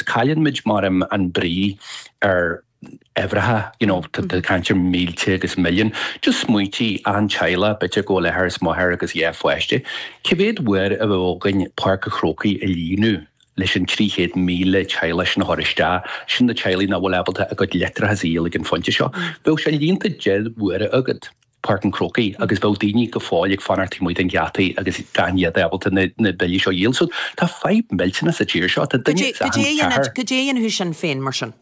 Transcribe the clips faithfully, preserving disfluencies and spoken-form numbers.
Cailleann muid mar an brí ar uimhreacha you know tá caint ar mílte agus milliún just smaointigh an teaghlach b'fhéidir go bhfuil athair is máthair agus dhá pháiste. Cé mhéad uair a bheadh againn Páirc an Chrócaigh a líonadh leis an trí chéad míle teaghlach sin a chur isteach, sin na teaghlaigh nach bhfuil ábalta a gcuid leictreachas a dhíol ag an phointe seo. Bheadh sé líonta deich uaire agat. Páirc an Chrócaigh agus bheadh daoine go fóill ag fanacht taobh amuigh den gheata agus gan iad ábalta na na billí seo a dhíol. So tá fadhb millteanach sa tír seo. Tá duine Cad é a dhéanfadh Sinn Féin mar sin?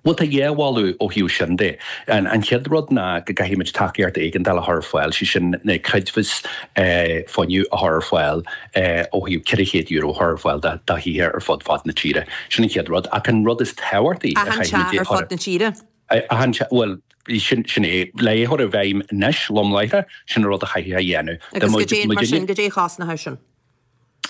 Bhuel tá dhá mholadh ó thaobh sin de. An an chéad rud ná go gcaithfidh muid tacaíocht éigeandála a chur ar fáil, sé sin na creidmheas fuinnimh a chur ar fáil ó thaobh ceithre chéad euro a chur ar fáil do do thithe ar fud fad na tíre. Sin an chéad rud. Ach an rud is tábhachtaí a Achan chaithfidh muid teach a ar chur fud na tíre? Achan teach, bhuel sin sin é. Le é a chur i bhfeidhm anois, lom láithreach, sin an rud a chaithfidh a dhéanamh. Agus goidé, mar sin, goidé a chosnódh sin?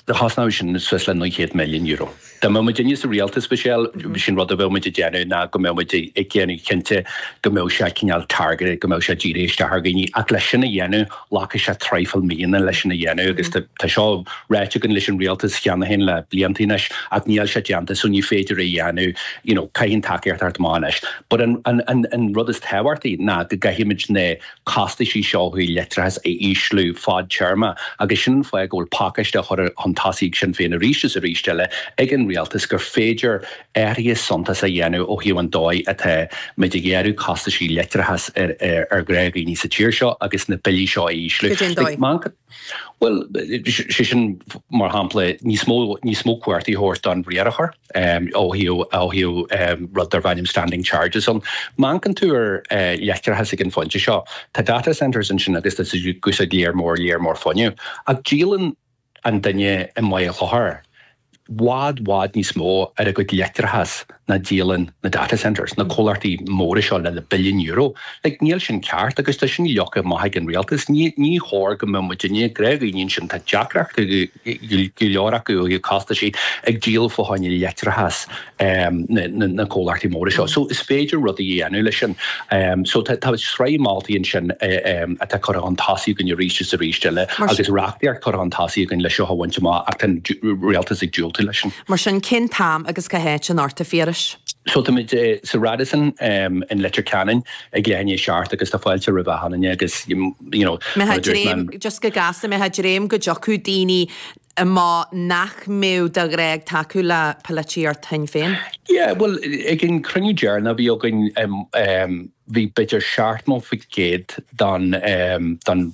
Chosnódh sin suas le naoi chéad milliún euro. Dá mbeadh muidinne sa rialtas, Michelle, sin rud a bheadh muid ag déanamh ná go mbeadh muid ag déanamh cinnte go mbeadh sé cineál targeted, go mbeadh sé dírithe isteach ar dhaoine. Ach leis sin a dhéanamh, glacfaidh sé traidhfil míonna leis sin a dhéanamh agus tá seo ráite againn leis an rialtas cheana féin le blianta anois ach níl sé déanta so ní féidir é a dhéanamh, you know, caithfidh an tacaíocht theacht amach anois. But an, an, an, an rud is tábhachtaí ná go gcaithfidh muid na costaisí seo ó thaobh leictreachas a ísliú fadtéarma agus sin an fáth go bhfuil pacáiste á chur chun tosaigh ag Sinn Féin arís is arís eile ag an rialtas gur féidir athruithe suntasacha a dhéanamh ó thaobh an dóigh atá muid ag gearradh costaisí leictreachais ar ar ghnáthdhaoine sa tír seo agus na billí seo a ísliú. Cad é an dóigh? Bhuel, sé sin mar shampla níos mó níos mó cumhachtaí a thabhairt don riarthóir ó thaobh ó thaobh rud darb ainm standing charges ann. Má amharcann tú ar leictreachas ag an phointe seo, tá data centres ansin agus tá siad ag úsáid lear mór lear mór fuinnimh. Ach díolann an duine i mBaile Chlochair i bhfad bhfad níos mó ar a gcuid leictreachas ná díolann na data centres, na comhlachtaí móra seo le na billiún euro. Like, níl sin ceart agus tá sin leagtha amach ag an rialtas. Ní ní chóir go mbeadh muidinne, gnáthdhaoine ansin, tá deacrachtaí go leor acu ó thaobh costaisí ag díol fá choinne leictreachas na na comhlachtaí móra seo. So is féidir rudaí a dhéanamh leis sin. So tá tá sraith moltaí ansin atá curtha chun tosaigh againn arís is arís eile agus reachtaíocht curtha chun tosaigh againn le seo a bhaint amach ach tá an rialtas ag diúltú leis sin. Mar sin, cén t-am agus cá háit anocht, a Phiarais? So táimid sa Radisson in Leitir Ceanainn ag leath i ndiaidh a seacht agus tá fáilte roimh achan duine agus you know Mbeifeá ag dréim, just go gasta, mbeifeá ag dréim go dtiocfadh daoine amach nach mbeadh de ghnáth ag tacú le polaitíocht Shinn Féin? Yeah, bhuel ag an cruinniú deireanach a bhí againn bhí b'fhéidir seachtó faoin gcéad don don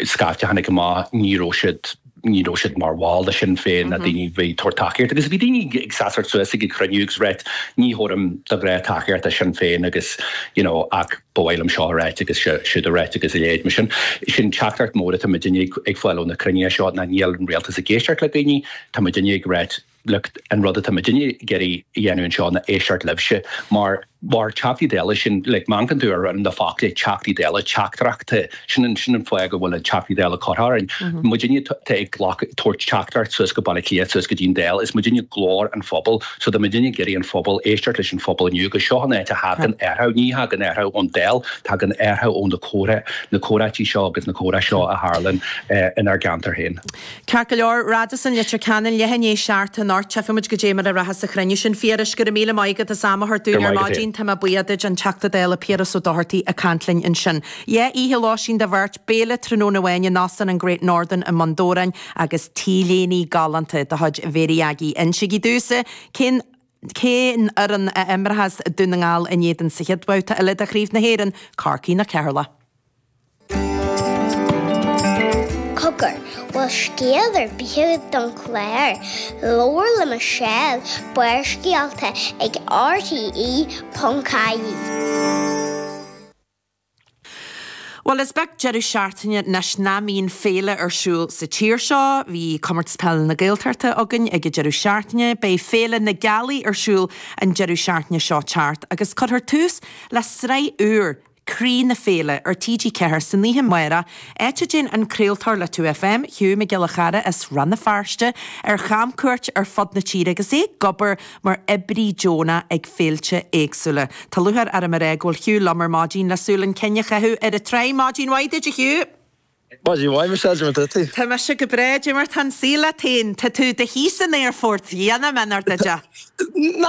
scaifte a tháinig amach ní raibh siad ní raibh siad mar bhall de Shinn Féin ná daoine a bhí ag tabhairt tacaíocht agus bhí daoine ag seasamh suas ag an chruinniú agus ráit ní thabharfainn de ghnáth tacaíocht do Shinn Féin agus you know ach ba mhaith liom seo a ráit agus siúd a ráit agus a leithéid mar sin. Sin teachtaireacht mór atá muidinne ag fáil ó na cruinnithe seo ná níl an rialtas ag éisteacht le daoine, tá muidinne ag ráit look an rud atá muidinne ag iarraidh a dhéanamh anseo ná éisteacht libhse mar mar Teachtaí Dála sin like má amharcann tú ar na focla Teachtaí Dála teachtaireachta sin an sin an fáth go bhfuil an Teachtaí Dála curtha orainn. Muidinne tá ag glacadh tabhairt teachtaireacht suas go Baile Átha Cliath suas go dtí an Dáil is muidinne glór an phobail so tá muidinne ag iarraidh an phobal éisteacht leis an phobal inniu agus seo an áit a thagann athrú ní thagann athrú ón Dáil tagann athrú ó na comhrá na comhráití seo agus na comhrá seo a tharlann inár gceantar féin. Ceart go leor, Radisson Leitir Ceanainn, leath i ndiaidh a seacht anocht, tchífidh muid goidé mar a rachas an cruinniú sin. Phiarais, go raibh míle maith agat as am a thabhairt Go dúinn raibh ar maith agat maidin. féin. Tá mé buíoch duit, an Teachta Dála Piaras Ó Dochartaigh ag caint linn ansin. Dhá oíche lóistín do bheirt, béile tráthnóna amháin in Óstán an Great Northern i mBun Dobhráin agus T-léine galánta de chuid Mhéirí Aggie. Insígí domhsa cén cén fhoireann a imreochas Dún na nGall in éadan sa chéad bhabhta eile de Chraobh na hÉireann, Corcaigh nó Ceatharlach? Cogar, bhfuil scéal ar bith agat don chlár? Labhair le Michelle, Barrscéalta ag RTE ponc ie. Bhuel, is beag deireadh seachtaine anois nach mbíonn féile ar siúl sa tír seo. Bhí Comórtas Peile na Gaeltachta againn ag an deireadh seachtaine. Beidh Féile na Gealaí ar siúl an deireadh seachtaine seo teacht agus cuirfear tús le sraith úr, Croí na Féile, ar T G ceathair san oíche amárach, áit a dtéann an craoltóir le two F M, Hugh Mac Giolla Chearra as Rann na Feirste, ar chamcuairt ar fud na tíre agus é ag obair mar oibrí deonach ag féilte éagsúla. Tá lúcháir orm a rá go bhfuil Hugh liom ar maidin le súil an chinn a chaitheamh ar an tsraith. Maidin mhaith duit, a Hugh! Maidin mhaith, Michelle, cad é mar tá tú? Tá mise go breá, cad é mar tá an saol leat féin? Tá tú i do shuí san aerfort, dhéanfaidh mé nár duit é. Nach